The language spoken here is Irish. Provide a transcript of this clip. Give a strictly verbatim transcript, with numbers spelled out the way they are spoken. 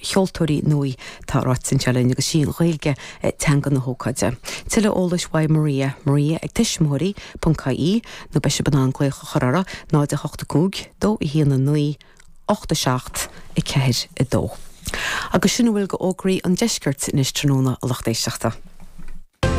cheoltóirí nua tá ráite anseo linn agus sí an Ghaeilge teanga na hócáide. Tuilleadh eolais uaidh Maria Maria ag tuismitheoirí ponc ie nó beidh sibh in ann glaoch a chur orthu náid a hocht a cúig dó a haon a naoi ocht a seacht a ceathair a dó. Agus sin a bhfuil d'fhógraí an deiscirt anois tráthnóna a lucht éisteachta.